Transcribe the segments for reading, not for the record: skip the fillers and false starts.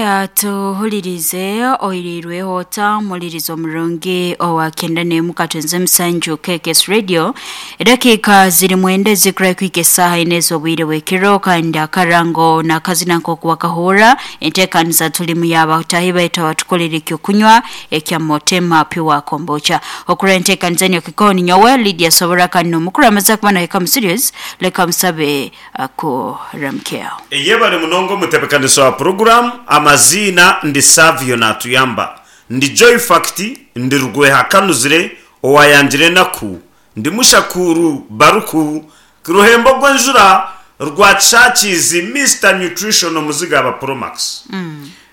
Atuhulirize oirirweho ota omulirizo omurungi owa 91 katwenze musanju KKS Radio. Edakiika ziri mwenda ezikura kwika esaaha ina ez'obwire bw'ekiro, kandi akarango n'akazina nk'oku wakahurra enteekaniza tulimu y'abatahi baitu abatukolera eky'okunywa ekya Motema Pure Kombucha. Okurora enteekaniza niyo kikoni nyowe Lydia Sobora kandi n'omukuru amaze kuba nahika mu studios, leka musabe akuramukyeho. Yebare munonga omutebekanisa wa puroguramu amaziina ndi Savio Natuyamba ndi Joy Fact ndi Rugweha Kanuzire owayangire enaku ndi Mushakuuru Baruku Ruhembo Gwenjura Rwakishakiizi Mister Nutrition omuziga aba Promax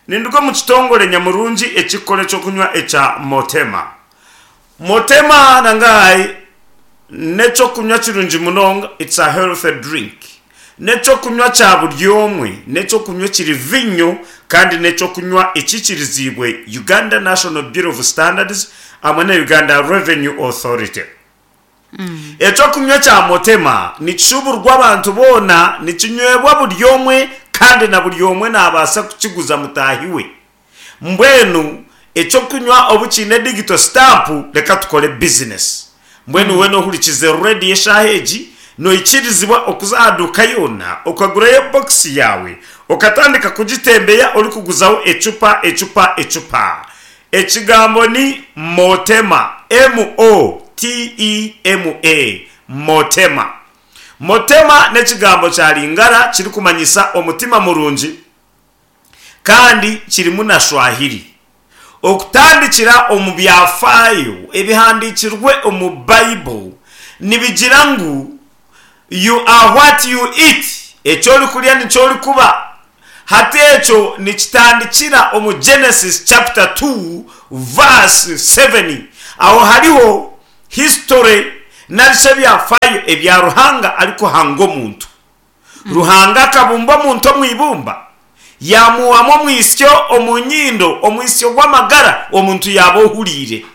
Ninduga omu kitongore nyamurungi ekikukora ekyokunywa ekya Motema Motema nangai n'ekyokunywa kirungi munonga, it's a healthy drink. N'ekyokunywa kya buri omwe, n'ekyokunywa ekiri vinyo kandi n'ekyokunywa ekikiriziibwe Uganda National Bureau of Standards hamwe na Uganda Revenue Authority. Ekyokunywa kya Motema nikishuuburwa abantu boona, nikinywebwa buri omwe kandi na buri omwe naabaasa kukiguza mutaahi we. Mbwenu eky'okunywa obu kiine digito sitampu, reka tukore bizinesi. Mbwenu weena ohurikize rediyo eshaaha egi, noikirizibwa okuza aha duuka yoona okagurayo bokisi yaawe okatandika kugitembeya orikuguzaho ecupa, ecupa, ecupa. Ekigambo ni Motema, M-O-T-E-M-A, Motema. Motema n'ekigambo kya Lingala kirikumanyisa omutima murungi. kandi kirimu na Swahili. Okutandikira omu byafaayo ebihandiikirwe omu Bible nibigira ngu You are what you eat, eki orikurya nikyo orikuba. Hati ekyo nikitandikira omu Genesis chapter 2 verse 7. Aho hariho history narishi ebyafaayo ebya Ruhanga arikuhanga omuntu. Ruhanga akabumba omuntu omu ibumba, yaamuhamu omwitsyo omu nyindo, omwitsyo gw'amagara, omuntu yaaba ohuriire.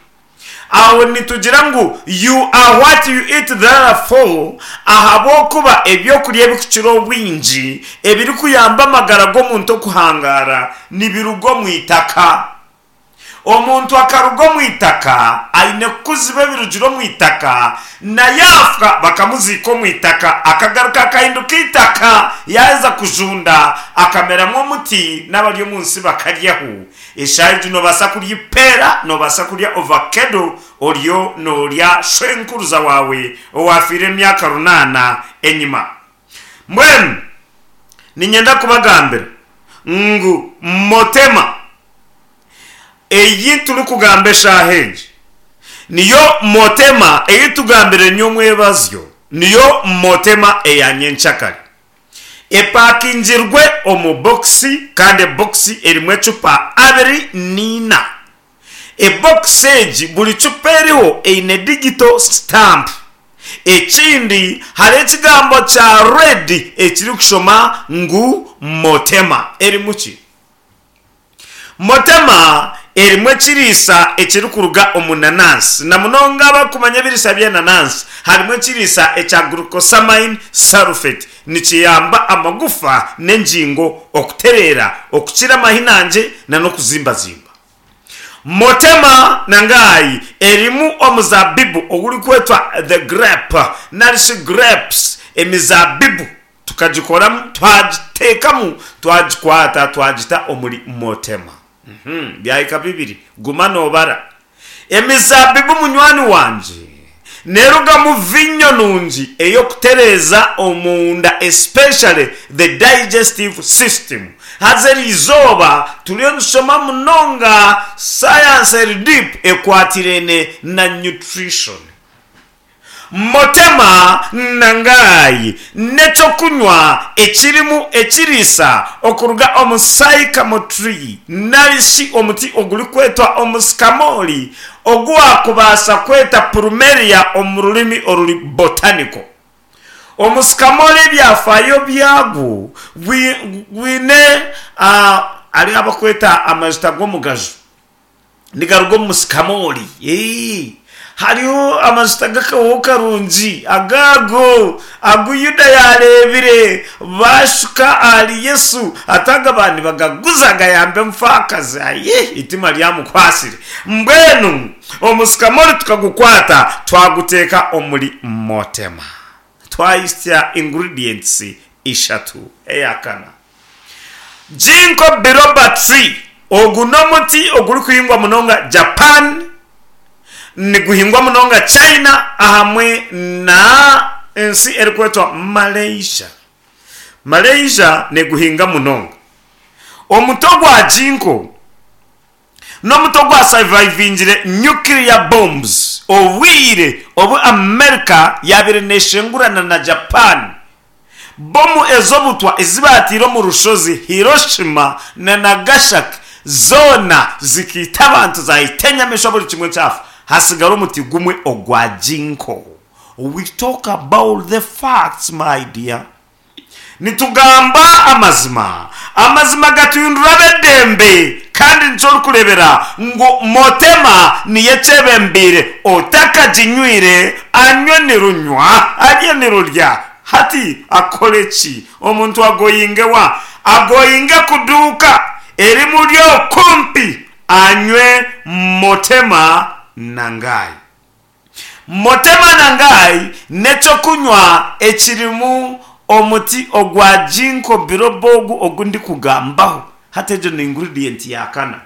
Aho nitugira ngu you are what you eat therefore, ahabw'okuba eby'okurya ebirikukira obwingi ebirikuyamba amagara g'omuntu okuhangaara nibiruga omu itaka. Omuntu akaruga omu itaka, aine kukuzibwa ebirugire omu itaka, na yaafa bakamuziika omu itaka, akagaruka akahinduka eitaka, yaaheza kujunda akameramu omuti n'abari omu nsi bakaryaho. Eshaaha egi noobaasa kurya ipeera, noobaasa kurya ovakedo, oriyo noorya shwenkuruza waawe owaafiire emyaka runaana enyima. Mbwenu niinyenda kubagambira ngu Motema ei turikugamba eshaaha egi niyo Motema ei tugambire nyomwebazyo, niyo Motema eya nyenkyakare. Epakingirwe omu bokisi kandi ebokisi erimu ecupa abiri n'eina. Ebokisi egi buri cupa eriho eine digito sitampu. Ekindi hariho ekigambo kya red ekirikushoma ngu Motema. Erimu ki? Motema erimu ekiriisa ekirikuruga omu nanansi. Na munonga abarikumanya ebiriisa by'enanansi, harimu ekiriisa ekya glucosamine sulfate. Nikiyamba amagufa n'engingo okutereera, okukira amahinangye n'okuzimbazimba. Motema na Ngai erimu omuzaabibu ogurikwetwa the grape nari shi grapes, emizaabibu tukagikoramu twagiteekamu twagikwata twagita omuri Motema. Byahika bibiri, guma noobara. Emizaabibu munywani wangye neerugamu viinyo nungi ey'okutereeza omunda especially the digestive system. Haza eri izooba turiyo nitushoma munonga science eri deep ekwatiraine na nutrition. Motema na Ngai n'eky'okunywa ekirimu ekiriisa okuruga omu sycamore tree nari shi omuti ogurikwetwa omusikamoori ogu waakubaasa kweta plumeria omu rurimi oruri botanical. Omusikamoori ebyafaayo byagwo gwine hariho abakweta amajuta g'omugaju. Nigaruga omu musikamoori. Hariho amajuta g'akahooho karungi agaago agu Yuda yaareebire baashuka ahari Yesu ati aga baaba nibagaguza gayambe omufaakazi. Aye, eitima ryamukwasire. Mbwenu omusikamori tukagukwata twaguteeka omuri Motema. Twahitsya ingredients ishatu. Eya kana, Ginkgo biloba tree, ogu n'omuti ogurikuhingwa munonga Japan, niguhingwa munonga China ahamwe na ensi erikwetwa Malaysia. Malaysia neguhinga munonga. Omuti ogwa Ginkgo n'omuti ogwa survivingire nuclear bombs obwire obu America yabaire neshengurana na Japan. Bomu ez'obutwa ezi baataire omu rushozi Hiroshima na Nagashaki zoona zikaita abantu, zaita enyamaishwa buri kimwe kyafa, hasigara omuti gumwe ogwa Ginkgo. We talk about the facts my dear. Nitugamba amazima. Amazima gatuhindura ab'eddembe kandi nikyo orikureebera ngu Motema niyo ekyebembeire. Otakaginywire anywe nirunywa, arye nirurya. Hati akore ki? Omuntu agoyinge wa? Agoyinge kuduuka erimuri okumpi anywe Motema Nangai. Motema Nangai n'eky'okunywa ekirimu omuti ogwa Ginkgo biloba ogu ogu ndikugambaho. Hati egyo ni ingredient ya kana.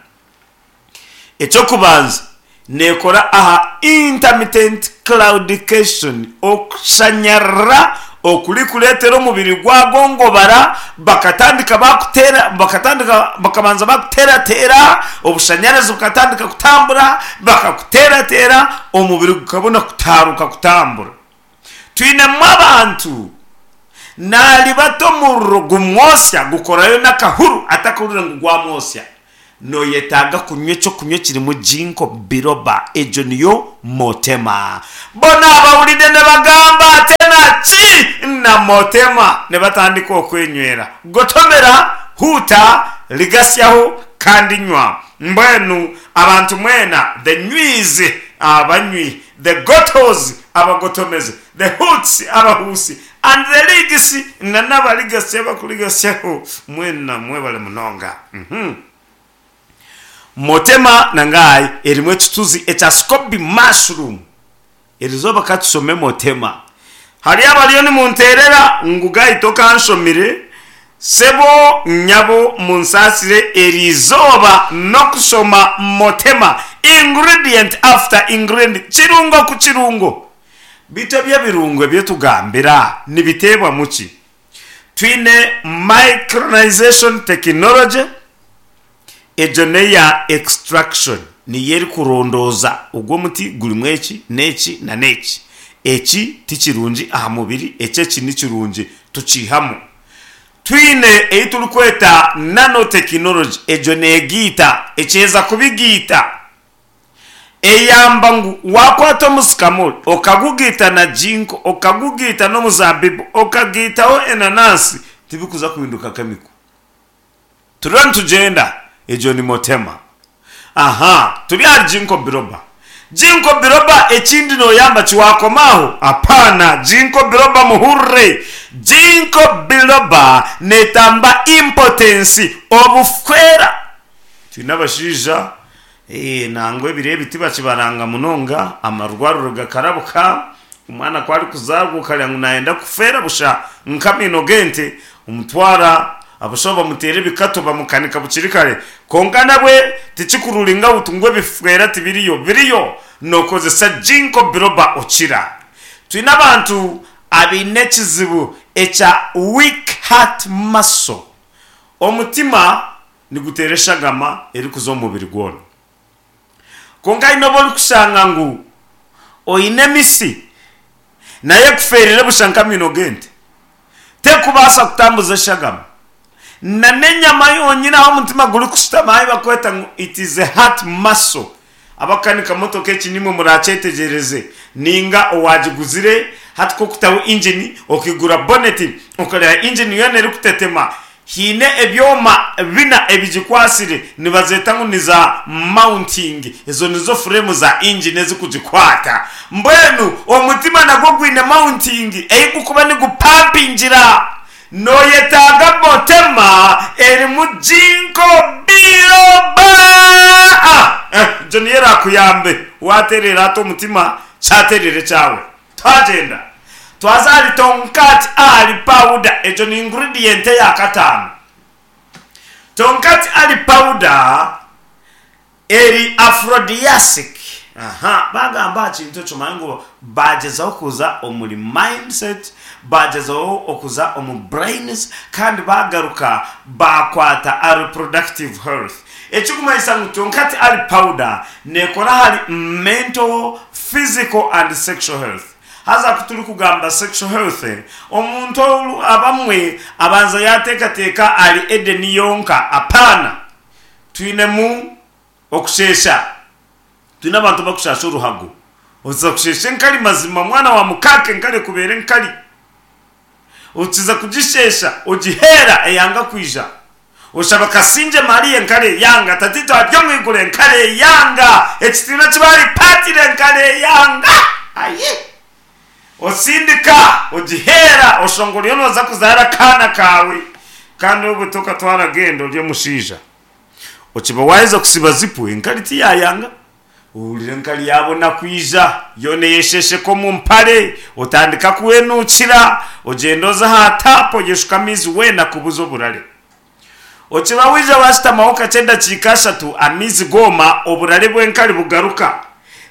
Eky'okubanza, neekora aha intermittent claudication, okushanyarara okurikureetera omubiri gwagongobara, bakatandika bakuteera, bakatandika bakabanza bakuteerateera, obushanyarazi bukatandika kutambura, bakakuteerateera, omubiri gukabona kutaaruka kutambura. Twinemu abantu naaribata omuriro gumwosya gukorayo n'akahuru atakahurira ngu gwamwosya. Noyetaaga kunywa eky'okunywa ekirimu Ginkgo biloba, egyo niyo Motema. Bona abahurire nibagamba ate na ki na Motema nibatandika okwenywera. Gotomera, huuta, rigasyaho kandi nywa. Mbwenu abantu mwena the nywiz, abanywi, the gotos, abagotomezi, the hoots, abahuusi, and the ligs, na n'abarigatsi abakurigatsyaho, mwena mwebare munonga. Uhmm. Motema na Ngai erimu ekituzi ekya scoby mushroom. Erizooba ka tushome Motema. Hariyo abariyo nimunteerera ngu Guy tokanshomire, sebo nyabo munsaasire erizooba n'okushoma Motema ingredient after ingredient, kirungo ku kirungo. Beitu eby'ebirungo ebi tugambira nibiteebwamu ki? Twine micronization technology, egyo n'eya extraction, niyo erikurondooza ogu omuti gurimu eki n'eki na n'eki. Eki ti kirungi aha mubiri, eki eki ni kirungi, tukiihamu. Twine ei turikweta nanotechnology, egyo neegiita, ekyeza kubigiita. Eyamba ngu waakwata omusikamori okagugaita na ginkgo, okagugaita n'omuzaabibu, okagaitaho enanansi, tibikuza kuhinduka kemiko. Turiyo nitugyenda, egyo ni Motema. Aha, turi ahari Ginkgo biloba. Ginkgo biloba ekindi nooyamba ki waakoma aho? Apaana, Ginkgo biloba muhurire! Ginkgo biloba neetamba impotence, obufwera. Twine abashaija Nangwa ebiro ebi tibakibaranga munonga, amarwariro gakarabuka, omwana ku arikuzaarwa okareba ngu nayenda kufeera busha nk'amaino g'ente, omutwara abashaho bamuteera ebikato bamukanika bukiri kare. Kwonka nabwe tikikururinga out ngu ebifeera tibiriyo, biriyo nokozesa Ginkgo biloba okira. Twine abantu abaine ekizibu ekya weak heart muscle, omutima Niguteera eshagama erikuza omu mubiri gwona. Kwonka haine obu orikushanga ngu oine emisi nayo ekufeerire busha nk'amaino g'ente. Terikubaasa kutambuza eshagama. Na n'enyama yonyini ahu omutima gurikushutama ahu barikweta ngu it is a heart muscle. Abakukanika motoka eki nimwe muraakyetegyereze. Nainga owaagiguzire hati ku okutaho engine okaigura boneti okareeba engine yoona erikutetema. Haine ebyoma bina ebigikwatsire, nibazeeta ngu ni za mounting, ezo nizo fureemu za ingini ezikugikwata. Mbwenu omutima nagwo gwine mounting ei gukuba nigupampingira. Noyetaaga motema erimu Ginkgo biloba! Egyo niyo erakuyambe watereera hati omutima kyatereera ekyawe. Twagyenda twaza ahari Tongkat Ali powder, egyo ni ingredient eya kataano. Tongkat Ali powder eri aphrodisiac. Aha, baagamba aha kintu ekyo omanye ngu baagyezaho kuza omuri mindset, baagyezaho okuza omu brains kandi baagaruka baakwata aha reproductive health. Ekirikumanyisa ngu Tongkat Ali powder neekora ahari mental, physical and sexual health. Haza ku turikugamba sexual health, omuntu abamwe abanza yaateekateeka ahari Edeni yonka. Apaana! Twinemu okusheesha. Twine abantu abakushaasha oruhago. Oza kusheesha enkari mazima mwana wa mukaaka enkari ekubeera enkari. Okiza kugisheesha ogiheera eyanga kwija. Oshaba Kasingye Maria enkari eyanga, Tataitwe ari omu iguru enkari eyanga, ekitiinwa eki baaripaatire enkari eyanga. Ayi! Osindika ogiheera oshanga oriyo nooza kuzaara akaana kaawe kandi obwo tokatwara genda ori omushaija. Okiba waaheza kusiba zipu enkari tiyaayanga. Ohurira enkari yaabona kwija, yoona eyesheesheka omu mpare, otandika kwenuukira, ogyenda oza aha taapu oyeshuka amaizi weena kubuza oburare. Okiba waija waashutamaho kakye edakiika ashatu, amaizi gooma, oburare bw'enkari bugaruka.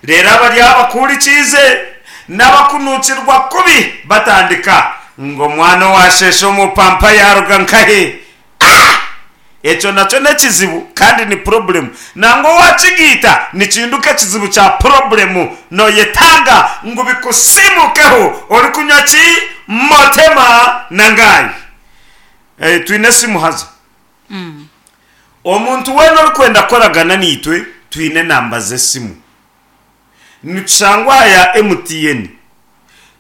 Reero abari aho abakuhurikiize n'abakunuukirwa kubi batandika ngu omwana owaasheesha omu pampa yaaruga nkahe? Ah! Ekyo nakyo n'ekizibu kandi ni purobulemu. Nangwa owakigaita nikihinduka ekizibu kya purobulemu. Noyetaaga ngu bikusiimukeho orikunywa ki? Motema na Ngai. Eh, twine esimu haza. Omuntu weena orikwenda kukoragana naitwe, twine enamba z'esimu. Nitushangwa aha ya MTN,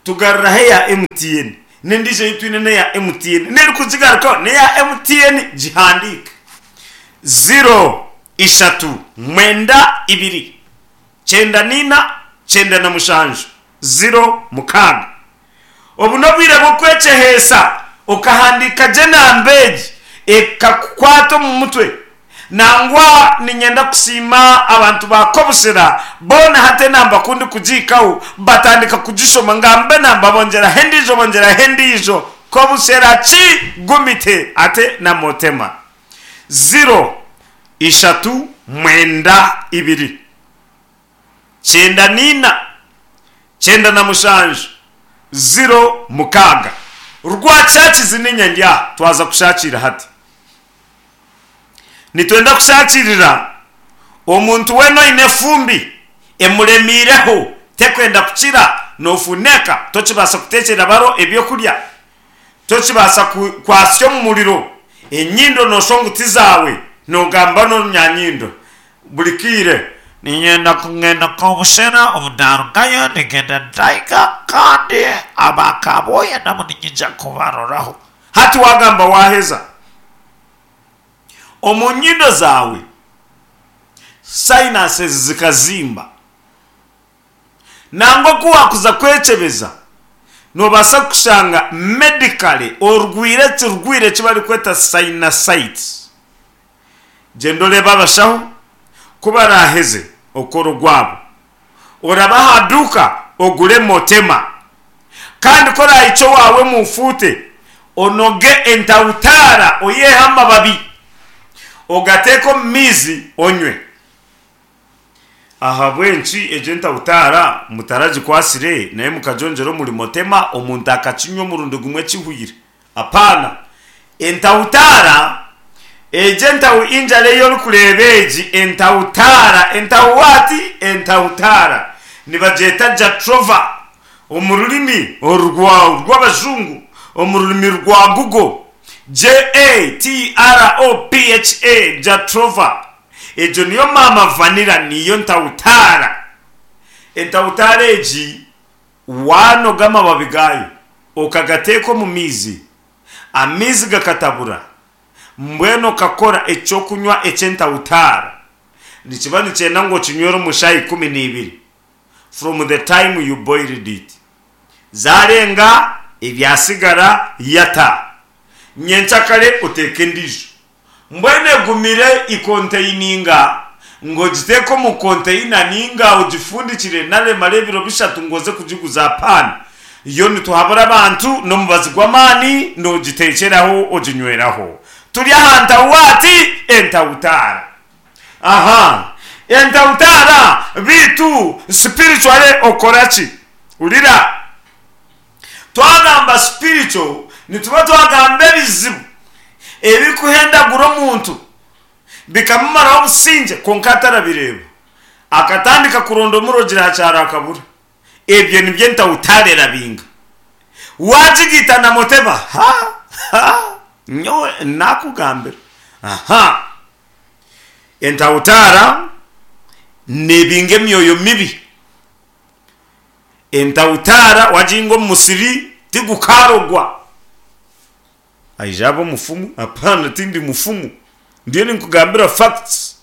tugaruraho eya MTN, n'endiijo ei twine n'eya MTN, n'erikugigarukaho n'eya MTN, gihandiike. Ziro, ishatu, mwenda, ibiri, kyenda n'eina, kyenda na mushanju, ziro, mukaaga. Obu n'obwire bw'okwekyeheesa okahandiika gye enamba egi ekakukwata omu mutwe. Nangwa niinyenda kusiima abantu ba Kobusera boona hati enamba ku ndikugihikaho batandika kugishoma ngamba enamba bongyeraho endiijo bongyeraho endiijo. Kobusera ki gumite ate na Motema. Ziro, ishatu, mwenda, ibiri. 94, 97, 06. Rwakyakizi niinye ndi aha, twaza kushakiira hati. Nitwenda kushakiirira omuntu weena oine efumbi emuremiireho, tekwenda kukira, noofuneka, tokibaasa kuteekyera baro ebyokurya, Tokibaasa kwasya omu muriro enyindo nooshwa ngu ti zaawe, noogamba n'orunyanyindo buri kaire. Niinyenda kugenda Kobushera, obu naarugayo ningenda Ndaiga kandi aba Kabwoya nabo niinyija kubaroraho. Hati waagamba waaheza omu nyindo zaawe sinuses zikazimba. Nangwa ku waakuza kwekyebeza, noobaasa kushanga medically orwaire ekirwaire eki barikweta sinusitis. Gyenda oreebe abashaho ku baraaheze okukora ogwabo. Orabe aha duuka ogure Motema. Kandi ku oraahikye owaawe muufuute, onoge entahutaara oyiheho amababi, ogateeke omu maizi onywe. Ahabw'enki egyo entahutaara mutaragikwatsire naye mukagyongyera omuri motema omuntu akakinywa omurundi gumwe kihweire? Apaana. Entahutaara, egyo entahu injara ei orikureeba egi, entahutaara, entahu waati? Entahutaara. Nibagyeta Jatropha omu rurimi orw'abajungu, omu rurimi rwa Google, J-A-T-R-O-P-H-A, Jatropha. Egyo niyo maama vanilla niyo ntawutaara. Entawutaara egi waanoga amababi gaayo okagateeka omu maizi, amaizi gakatabura. Mbwenu okakora eky'okunywa eky'entawutaara, nikiba nikyenda ngu okinywere omu shaaha 12 from the time you boiled it. Zaarenga, ebyasigara yata. Nyenkyakare oteeke endiijo. Mbwenu egumire ikonteininga ngu ogiteeke omu konteina ninga ogifundikire nari emare ebiro bishatu ngu oze kugiguza apaana. Yo nituhabura abantu n'omubazi gw'amaani noogiteekyeraho oginyweraho. Turi aha ntawuwaati entawutaara. Aha entawutaara beitu spiritually okora ki? Hurira. Twagamba spiritual nituba twagamba ebizibu ebirikuhendagura omuntu bikamumaraho obusingye kwonka atarabireeba. Akatandika kuronda omurogyire aha kyaro akabura. Ebyo nibyo entawutaara erabinga. Wagigaita na moteba ha ha nyowe nakugambira aha. Entawutaara nebinga emyoyo mibi. Entawutaara wagihinga omu musiri tigukaarogwa. Aija aba omufumu? Apaana tindi mufumu. Ndiyo ninkugambira facts.